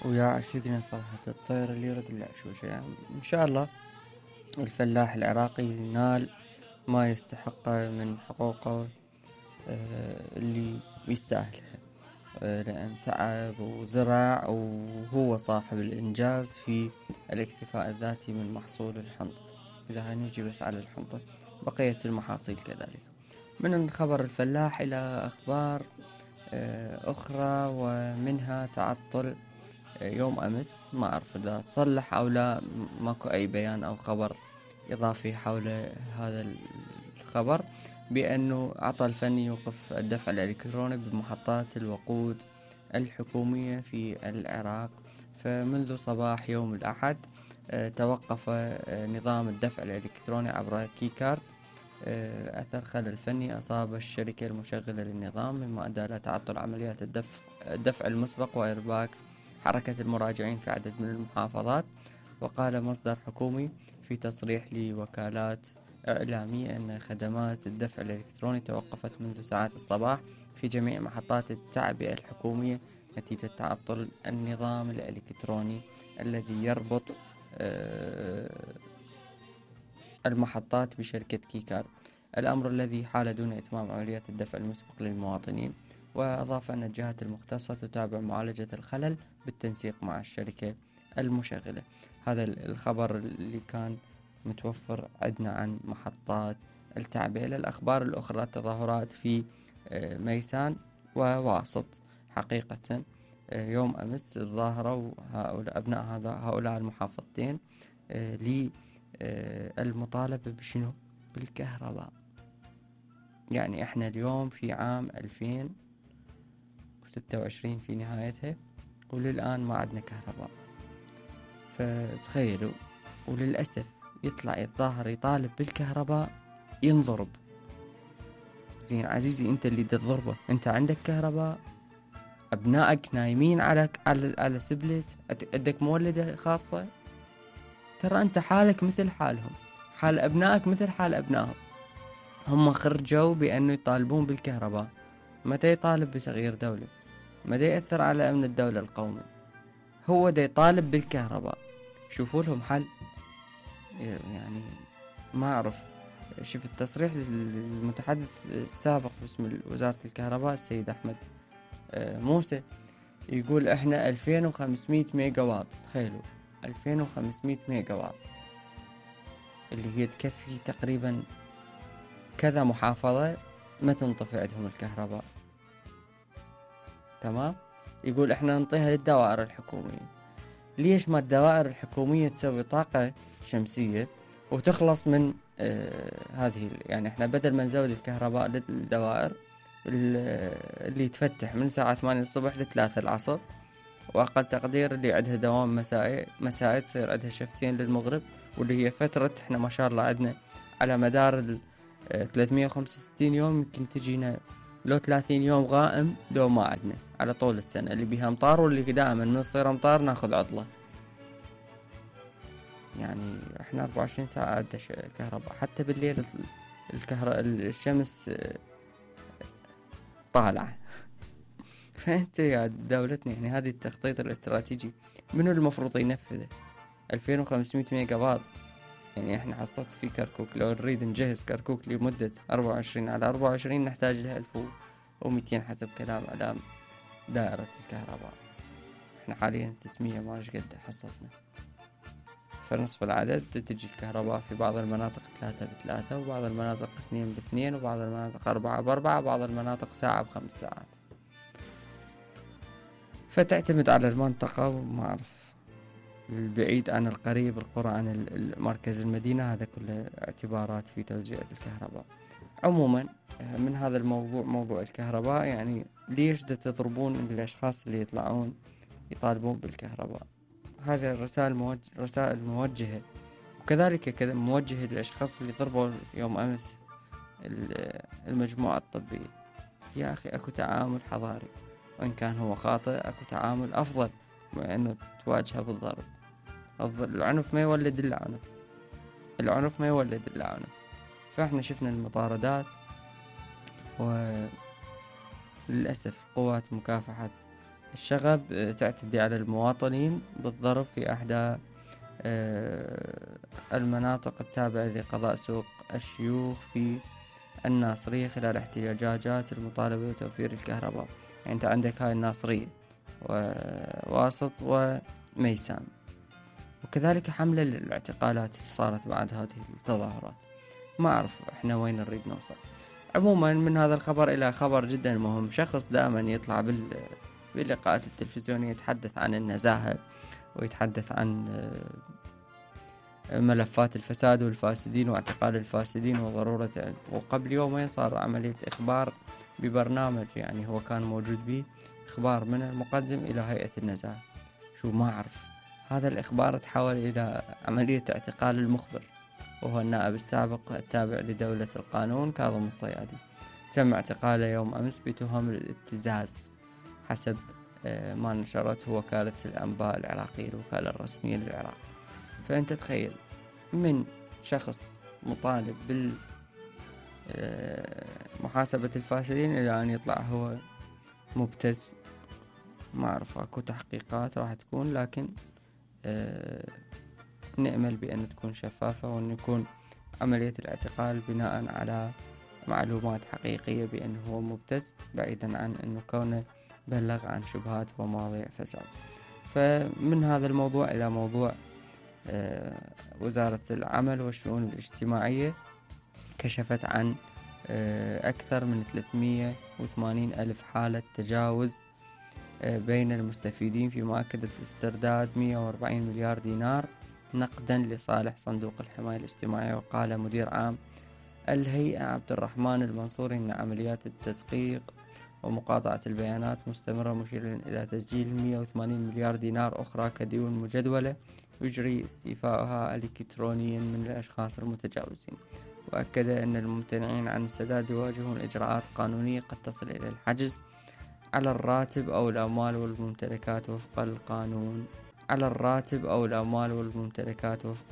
ويا عشقنا فرحة الطير اللي يرد العشوشة. يعني إن شاء الله الفلاح العراقي ينال ما يستحقه من حقوقه اللي يستاهلها، لأن تعب وزرع وهو صاحب الإنجاز في الاكتفاء الذاتي من محصول الحنطة. إذا هنجي بس على الحنطة، بقية المحاصيل كذلك. من خبر الفلاح إلى أخبار أخرى، ومنها تعطل يوم أمس. ما أعرف إذا تصلح أو لا، ماكو أي بيان أو خبر إضافي حول هذا الخبر، بأنه عطل فني يوقف الدفع الإلكتروني بمحطات الوقود الحكومية في العراق. فمنذ صباح يوم الأحد توقف نظام الدفع الإلكتروني عبر كيكارد أثر خلل فني أصاب الشركة المشغلة للنظام، مما أدى إلى تعطل عمليات الدفع المسبق وإرباك حركة المراجعين في عدد من المحافظات. وقال مصدر حكومي في تصريح لوكالات إعلامية أن خدمات الدفع الإلكتروني توقفت منذ ساعات الصباح في جميع محطات التعبئة الحكومية نتيجة تعطل النظام الإلكتروني الذي يربط المحطات بشركة كيكار، الأمر الذي حال دون إتمام عمليات الدفع المسبق للمواطنين. وأضاف أن الجهات المختصة تتابع معالجة الخلل بالتنسيق مع الشركة المشغلة. هذا الخبر اللي كان متوفر عندنا عن محطات التعبئة. للأخبار الأخرى، تظاهرات في ميسان وواسط. حقيقة يوم أمس تظاهروا هؤلاء أبناء هؤلاء المحافظتين للمطالبة بشنو؟ بالكهرباء. يعني احنا اليوم في عام 2026 في نهايتها، وللآن ما عندنا كهرباء. فتخيلوا، وللأسف يطلع يتظاهر يطالب بالكهرباء ينضرب. زين عزيزي، انت اللي تضربه، انت عندك كهرباء، ابنائك نايمين على سبلت، عندك مولدة خاصة، ترى انت حالك مثل حالهم، حال ابنائك مثل حال ابنائهم. هم خرجوا بأنه يطالبون بالكهرباء، متى يطالب بتغيير دولة؟ متى يأثر على أمن الدولة القومي؟ هو دا يطالب بالكهرباء. شوفوا لهم حل. يعني ما أعرف، شوف التصريح للمتحدث السابق باسم وزارة الكهرباء السيد أحمد موسى، يقول احنا 2500 ميجا واط. تخيلوا 2500 ميجا واط، اللي هي تكفي تقريبا كذا محافظة ما تنطفئ عندهم الكهرباء. تمام. يقول احنا ننطيها للدوائر الحكومية. ليش ما الدوائر الحكومية تسوي طاقة شمسية وتخلص من هذه؟ يعني احنا بدل ما نزود الكهرباء للدوائر اللي تفتح من الساعة 8 الصبح ل3 العصر، وأقل تقدير اللي عندها دوام مسائي تصير عندها شفتين للمغرب، واللي هي فترة احنا ما شاء الله عندنا على مدار 365 يوم يمكن تجينا لو 30 يوم غائم لو ما عندنا على طول السنة، اللي بيها امطار واللي دائما من تصير امطار ناخذ عطلة. يعني احنا 24 ساعة عندنا كهرباء، حتى بالليل الشمس طالعة. فانت يا دولتنا، يعني هذه التخطيط الاستراتيجي منو المفروض ينفذه؟ 2500 ميجا واط. يعني احنا حصلت في كركوك، لو نريد نجهز كركوك لمدة 24/24 نحتاج لها 1200 حسب كلام على دائرة الكهرباء. احنا حاليا 600 ما قد حصلتنا، فنصف العدد. تجي الكهرباء في بعض المناطق 3/3، وبعض المناطق 2/2، وبعض المناطق 4/4، وبعض المناطق ساعة ب5 ساعات. فتعتمد على المنطقة، وما أعرف البعيد عن القريب، القرى عن مركز المدينة، هذا كله اعتبارات في توزيع الكهرباء. عموما من هذا الموضوع، موضوع الكهرباء، يعني ليش تضربون الأشخاص اللي يطلعون يطالبون بالكهرباء؟ هذا رسائل موجهة، وكذلك موجهة للأشخاص اللي ضربوا يوم أمس المجموعة الطبية. يا أخي أكو تعامل حضاري، وإن كان هو خاطئ أكو تعامل أفضل من أنه تواجهه بالضرب. العنف ما يولد إلا عنف، العنف ما يولد إلا عنف. فإحنا شفنا المطاردات، وللأسف قوات مكافحة الشغب تعتدي على المواطنين بالضرب في إحدى المناطق التابعة لقضاء سوق الشيوخ في الناصرية خلال احتجاجات المطالبة بتوفير الكهرباء. يعني أنت عندك هاي الناصرية وواسط وميسان. وكذلك حملة للاعتقالات اللي صارت بعد هذه التظاهرات. ما أعرف إحنا وين نريد نوصل. عموما من هذا الخبر إلى خبر جدا مهم. شخص دائما يطلع باللقاءات التلفزيونية يتحدث عن النزاهة ويتحدث عن ملفات الفساد والفاسدين واعتقال الفاسدين وضرورة، وقبل يومين صار عملية إخبار ببرنامج يعني هو كان موجود به، إخبار من المقدم إلى هيئة النزاهة. شو ما أعرف، هذا الإخبار تحول إلى عملية اعتقال المخبر، وهو النائب السابق التابع لدولة القانون كاظم الصيادي. تم اعتقاله يوم أمس بتهم الابتزاز حسب ما نشرته وكالة الأنباء العراقية، الوكالة الرسمية للعراق. فأنت تخيل من شخص مطالب بالمحاسبة الفاسدين إلى أن يطلع هو مبتز. ما أعرف، أكو تحقيقات راح تكون، لكن نأمل بأن تكون شفافة وأن يكون عملية الاعتقال بناء على معلومات حقيقية بأنه هو مبتز، بعيدا عن أنه كونه بلغ عن شبهات ومواضيع فساد. فمن هذا الموضوع إلى موضوع وزارة العمل والشؤون الاجتماعية كشفت عن أكثر من 380 ألف حالة تجاوز بين المستفيدين، فيما أكدت استرداد 140 مليار دينار نقدا لصالح صندوق الحماية الاجتماعية. وقال مدير عام الهيئة عبد الرحمن المنصوري إن عمليات التدقيق ومقاطعة البيانات مستمرة، مشيرا إلى تسجيل 180 مليار دينار أخرى كديون مجدولة يجري استيفاؤها إلكترونيا من الأشخاص المتجاوزين. وأكد أن الممتنعين عن السداد يواجهون إجراءات قانونية قد تصل إلى الحجز على الراتب أو الأموال والممتلكات وفق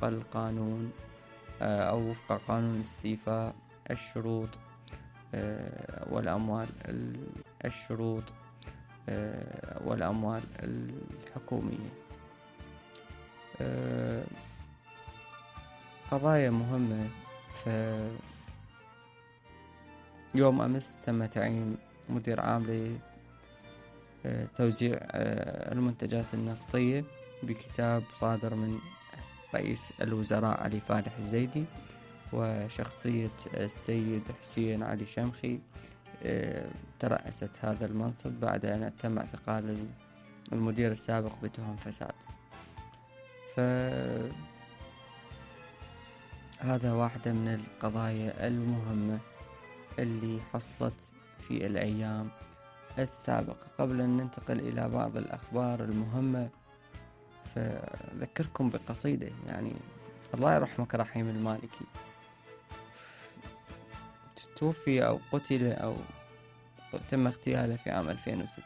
القانون أو وفق قانون استيفاء الشروط والأموال الحكومية. قضايا مهمة. يوم أمس تم تعيين مدير عام لتوزيع المنتجات النفطية بكتاب صادر من رئيس الوزراء علي فالح الزيدي، وشخصية السيد حسين علي شمخي ترأست هذا المنصب بعد أن تم اعتقال المدير السابق بتهم فساد. فهذا واحدة من القضايا المهمة اللي حصلت في الأيام السابقة. قبل أن ننتقل إلى بعض الأخبار المهمة، فذكركم بقصيدة، يعني الله يرحمك رحيم المالكي، توفي أو قتل أو تم اغتياله في عام 2006.